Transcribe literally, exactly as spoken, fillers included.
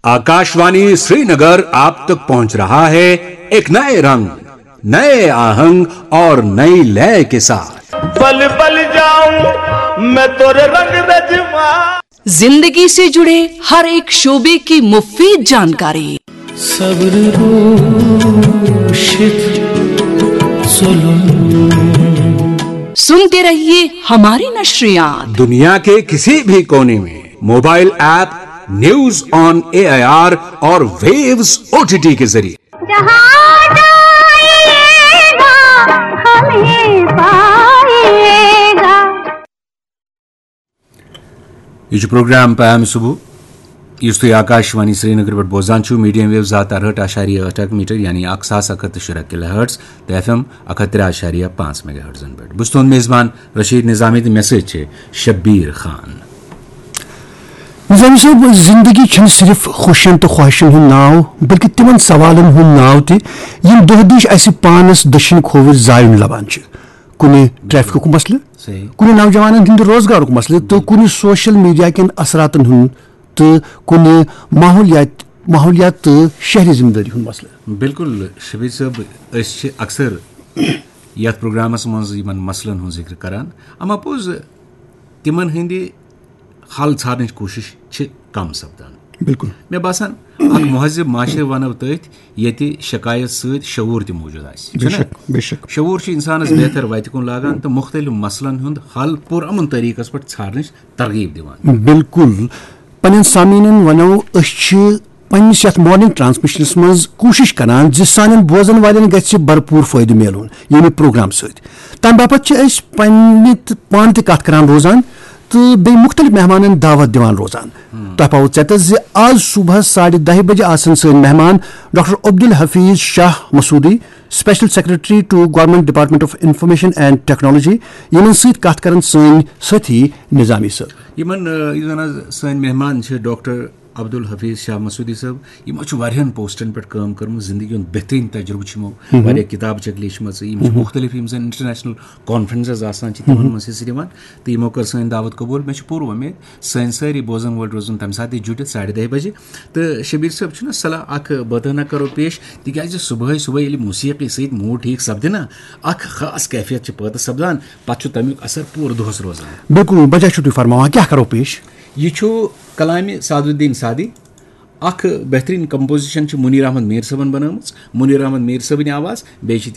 आकाशवाणी श्रीनगर आप तक पहुंच रहा है एक नए रंग, नए आहंग और नई लय के साथ। पल पल जाऊं मैं तोरे रंग में जिमा। जिंदगी से जुड़े हर एक शोबे की मुफीद जानकारी। सब्र रोशित जुल्म। सुनते रहिए हमारी नशरियात। दुनिया के किसी भी कोने में mobile app news on AIR और वेव्स ओटीटी के जरिए। जहाँ जाएगा, हमें पाएगा। یہ چھُ پروگرام پیام صبح، یُس تُہۍ آکاشوانی سرینگر پٮ۪ٹھ بوزان چھِو، میڈیم ویو زٕ ہَتھ تہٕ اَرہٲٹھ اَشاریہ ٲٹھ میٹر، یعنی اکھ ساس اکھ ہَتھ تہٕ شُراہ کِلو ہرٹز تہٕ ایف ایم اکھ ہَتھ ترٛےٚ اَشاریہ پانٛژھ میگا ہرٹزن پٮ۪ٹھ۔ بہٕ چھُس تُہُنٛد میزبان رشید نظامی تہٕ مےٚ سۭتۍ چھِ شبیر خان۔ نظامی صٲب، زندگی چھنہٕ صرف خوشین تہٕ خواہشن ہُنٛد ناو، بلکہ تِمن سوالن ہُنٛد ناو تہِ، یِم دۄہ دِش اسہِ پانس دٔچھِنۍ کھووٕرۍ زایُن لبان چھِ۔ کُنہِ ٹریفکُک مسلہٕ، صحیح۔ کُنہِ نوجوانن ہٕنٛدِ روزگارُک مسلہٕ، تہٕ کُنہِ سوشل میڈیا کٮ۪ن اثراتن ہُنٛد، تہٕ کُنہِ ماحولیات، ماحولیات تہٕ شہری ذمہ دٲری ہُنٛد مسلہٕ۔ بالکل شبیر صٲب، أسۍ چھِ اکثر یتھ پروگرامس منٛز یِمن مسلن ہُنٛد ذکر کران، اما پوٚز تِمن ہٕنٛدِ حل ژھارنٕچ کوٗشِش چھِ کم سپدان۔ بالکل۔ مےٚ باسان، اکھ مہذب معاشرٕ ونو تٔتھۍ، ییٚتہِ شکایت سۭتۍ شعوٗر تہِ موٗجوٗد آسہِ، بے چھُنہ؟ شک، بے شک۔ شعوٗر چھُ انسانس بہتر وتہِ کُن لاگان تہٕ مختلف مسلن ہُنٛد حل پُرامن طریقس پٮ۪ٹھ ژھارنٕچ ترغیب دِوان۔ بالکل۔ پننٮ۪ن سامعیٖنن ونو، أسۍ چھِ پننِس یتھ مارننگ ٹرانسمیشنس منٛز کوٗشش کران زِ سانٮ۪ن بوزن والٮ۪ن گژھِ بھرپوٗر فٲیدٕ میلُن ییٚمہِ پروگرام سۭتۍ۔ تمہِ باپتھ چھِ أسۍ پننہِ تہٕ پانہٕ تہِ کتھ کران روزان تہٕ بیٚیہِ مختلف مہمانن دعوت دِوان روزان۔ تۄہہِ پاوو ژٮ۪تس زِ آز صبحس ساڑِ دَہہِ بجہِ آسن سٲنۍ مہمان doctor Abdul Hafeez Shah Masoodi, Special Secretary to Government Department of Information and Technology، یِمن سۭتۍ کتھ کرن سٲنۍ سٲتھی نظامی صٲب۔ یِمن، آ، یُس زن آز سٲنۍ مہمان چھِ ڈاکٹر عبدالحفیظ شاہ مسعودی صٲب، یِمو چھُ واریاہن پوسٹن پٮ۪ٹھ کٲم کٔرمٕژ، زندگی ہُنٛد بہترین تجربہٕ چھُ یِمو، واریاہ کتابہٕ چھکھ لیچھمژٕ، یِم چھِ مختلف، یِم زن انٹرنیشنل کانفرنسز آسان چھِ، تِمن منٛز حصہٕ نِوان، تہٕ یِمو کٔر سٲنۍ دعوت قبول۔ مےٚ چھِ پوٗرٕ وۄمید سٲنۍ سٲری بوزن وٲلۍ روزن تمہِ ساتہٕ تہِ جُڑِتھ ساڑِ دَہہِ بجہِ۔ تہٕ شبیر صٲب، چھُنہ صلاح اکھ بٲتٲنہ کرو پیش، تِکیازِ صبحٲے صبحٲے ییٚلہِ موسیقی سۭتۍ موڈ ٹھیک سپدِ نا، اکھ خاص کیفیت چھِ پٲدٕ سپدان، پتہٕ چھُ تمیُک اثر پوٗرٕ دۄہس روزان۔ بالکل، بجا چھِو تُہۍ فرماوان، کیٛاہ کرو پیش؟ یہِ چھُ کلامِ سعد الدین سعدی، اکھ بہترین کمپوزیشن چھِ منیر احمد میر صٲبن بنٲومٕژ، منیر احمد میر صٲبٕنۍ آواز، بیٚیہِ چھِ